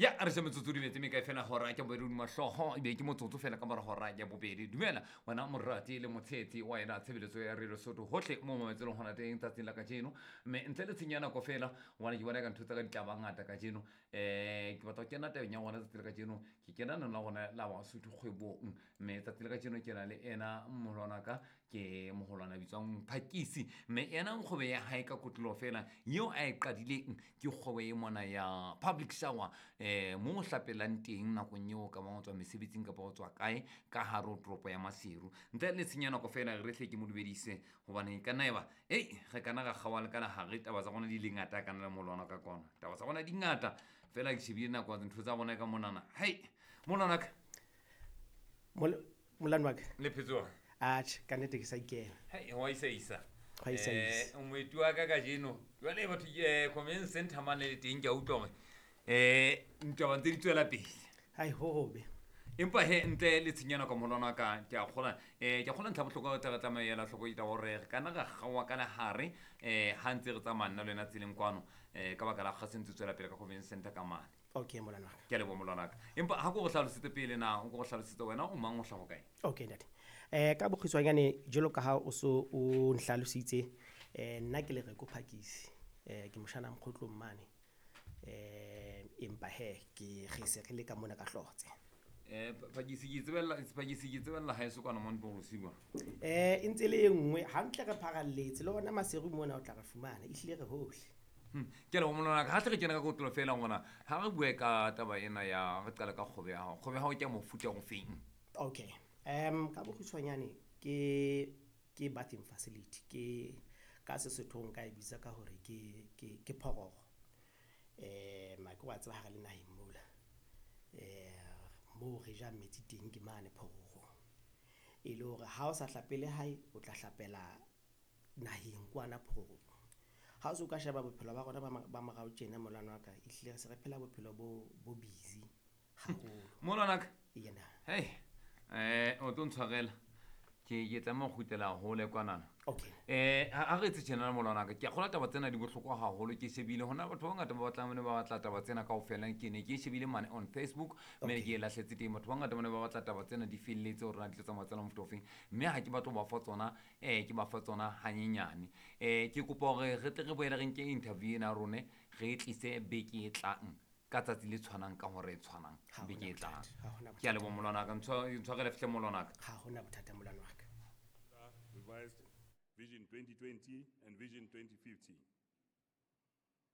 Ya re se metsotso di metse mekae fela hora ke bobedi hodima hlooho, ebe ke motsotso fela ka mora hora ya bobedi. Dumela wena morati le motshehetsi wa ena tshebeletso ya Radio Sotho hohle mo mametselong hona teng tsatsing la kajeno. Mme ntle le tshenyo ya nako fela, hobane ke bona ka ntho tsa ka di tla ba ngata kajeno. Ke batla ho kena tabeng ya rona tsatsi la kajeno. Ke kena nong la rona la Basotho kgwebong. Mme tsatsi la kajeno ke na le ena moholwana ka, ke moholwana a bitswang Phakisi. Mme ena kgwebo ya hae ka kotloloho fela eo a e qadileng ke kgwebo e mona ya public shower, mo o hlapelang teng nakong eo ka bang o tswa mesebetsing kapa o tswa kae ka hare ho toropo ya Maseru. Ntle le tshenyo ya nako fela, re hle ke mo dumedise hobane e ka nna eba, ei, re kana ra kgaoha le ka lehare, taba tsa rona di le ngata kana le moholwana ka kwana. Taba tsa rona di ngata fela, ke shebile nako ntho tsa rona ka monana. Hei, moholwana ka. Molane wa ka. Le phetse jwang? Atjhe, ka nnete ke sa ikela. Hei, wa isa isa. Wa isa isa. Moeti wa ka kajeno. Jwale batho ke convention center mane le teng, ke a utlwa hore, ntaba ntse di tswela pele. Hai, ho hobe. Empa he, ntle le tshenyo ya nako moholwana wa ka, ke a kgolwa, ke a kgolwa ntlha bohlokwa o tla re tlameha ho ela hloko ke taba hore re kana ra kgaoha ka lehare, ha ntse re tsamaya nna le wena tseleng kwano, ka baka la kgaso e ntse tswela pele ka convention center ka mane. Okay, molwana wa ka. Ke a leboha molwana wa ka. Empa ha ko go hlalosetse pele na, o ko go hlalosetse wena o mang, o hlaha kae? Okay, ntate. Ka bokgutshwanyane jwalo ka ha o so o nhlalositse, nna ke Lereko Phakisi. Ke moshana Mokgotlong mane. Empa he, ke re se re le ka mona ka hlotse. Phakisi ke tsebella, Phakisi ke tsebella haeso kwana mo ntlong bosiu. E ntse le e nngwe, hantle re pharalletse le hona Maseru mona o tla re fumana, ehlile re hohle. Ke a leboha molwana ka. Ha tle re kena ka kotlolo fela ngwana, ha re bue ka taba ena ya re qale ka kgwebo ya hao. Kgwebo ya hao ke ya mofuta o feng? Okay. Ka bokgutshwanyane ke bathing facility, ke ka Sesothong ka e bitsa ka hore ke phororo. Ma ke wa tseba ha re le naheng mola. Moo re jang metsi teng ke mane phororong. E le hore ha o sa hlapele hae, o tla hlapela naheng kwana phororong. Ha o se o ka sheba bophelo ba rona ba morao tjena molwana wa ka, ehlile re se re phela bophelo bo busy haholo. Molwana wa ka? Yena. Hei, o tlo ntshwarela. Ke tlameha ho kgutlela hole kwanana. Okay. Ha re etse tjena molwana wa ka, ke a kgolwa taba tsena di bohlokwa haholo. Ke shebile hona batho ba bangata ba batlang, ba ne ba batla taba tsena kaofela. Ke ne ke shebile mane on Facebook, mme ke e lahletse teng. Batho ba bangata ba ne ba batla taba tsena di felletse hore na di tlo tsamaya tsela mofuta ofeng. Mme ha ke batle ho ba fa tsona, ke ba fa tsona hanyenyane. Ke kopa hore re tle re boele re nke interview ena ya rone, re e tlise beke e tlang ka tsatsi le tshwanang ka hora e tshwanang Ha hona beke e tlang. bothata, ha hona Ke a leboha molwana wa ka. Ntshwarele fihle molwana wa ka. Ha hona bothata molwana wa ka. Revised Vision 2020 and Vision 2050.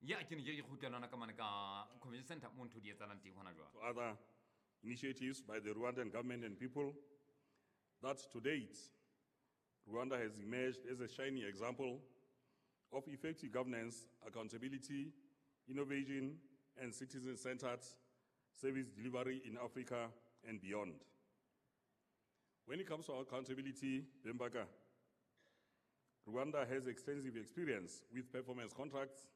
Ya, ke ne ke kgutlela hona ka mane ka convention center mo ntho di etsahalang teng hona jwale. To other initiatives by the Rwandan government and people that to date, Rwanda has emerged as a shining example of effective governance, accountability, innovation, and citizen-centered service delivery in Africa and beyond. When it comes to accountability, Bembaka, Rwanda has extensive experience with performance contracts